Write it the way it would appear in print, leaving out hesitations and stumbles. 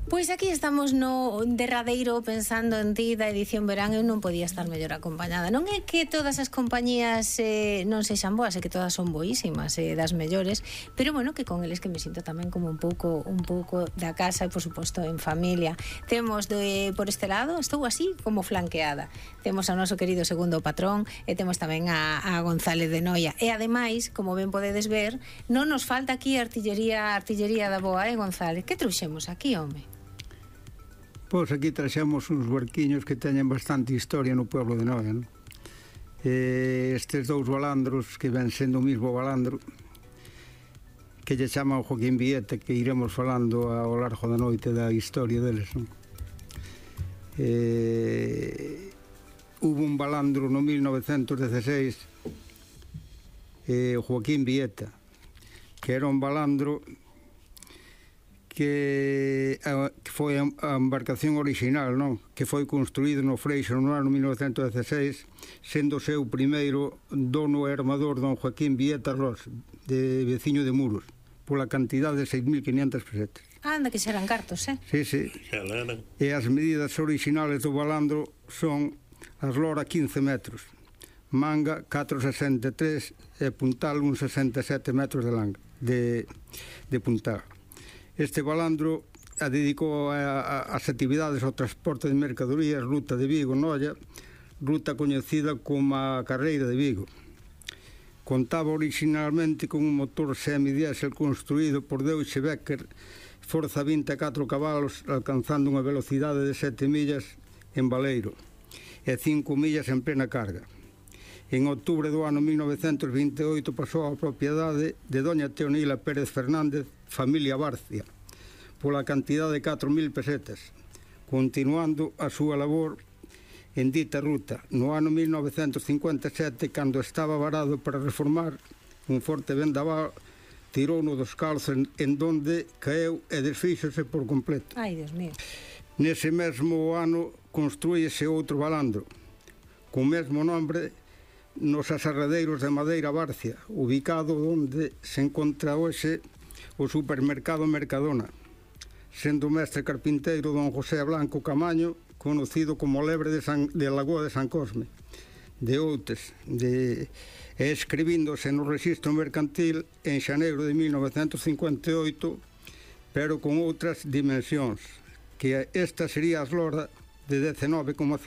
Pois aquí estamos no derradeiro pensando en ti da edición verán. Eu non podía estar mellor acompañada. Non é que todas as compañías non sexan boas, é que todas son boísimas, das mellores, pero bueno, que con eles que me sinto tamén como un pouco da casa e por suposto en familia. Temos por este lado, estou así como flanqueada. Temos ao noso querido segundo patrón e temos tamén a González de Noia. E ademais, como ben podedes ver, non nos falta aquí artillería da boa, González? Que trouxemos aquí, home? Pois aquí traxemos uns barquiños que teñen bastante historia no pueblo de Noia, non? Estes dous balandros que ven sendo o mismo balandro que lle chaman Joaquín Vieta, que iremos falando ao largo da noite da historia deles, non? Hubo un balandro no 1916, Joaquín Vieta, que era un balandro que foi a embarcación original, non? Que foi construído no Freixo no ano 1916, sendo o seu primeiro dono e armador don Joaquín Vieta Ros, de veciño de Muros, pola cantidad de 6.500 pesetas. Anda, que serán cartos, Sí, sí. E as medidas originales do balandro son as lora 15 metros, manga 4,63 e puntal 1,67 metros de langa, de puntal. Este balandro a dedicou as actividades ao transporte de mercadorías, ruta de Vigo-Noia, ruta coñecida como a Carreira de Vigo. Contaba originalmente con un motor semidiésel construído por Deutsche Becker, forza 24 cabalos, alcanzando unha velocidade de 7 millas en valeiro e 5 millas en plena carga. En outubro do ano 1928 pasou a propiedade de doña Teonila Pérez Fernández, familia Barcia, pola cantidad de 4.000 pesetas, continuando a súa labor en dita ruta. No ano 1957, cando estaba varado para reformar un forte vendaval, tirou no dos calzos en donde caeu e desfíxose por completo. Ai, Dios mío. Nese mesmo ano construíse outro balandro, co mesmo nombre, nos aserradeiros de Madeira Barcia, ubicado onde se encontra hoxe o supermercado Mercadona, sendo o mestre carpinteiro don José Blanco Camaño, conocido como Lebre de Lagoa de San Cosme, de Outes, e escribíndose no registro mercantil en xaneiro de 1958, pero con outras dimensións, que esta sería a eslora de 19,5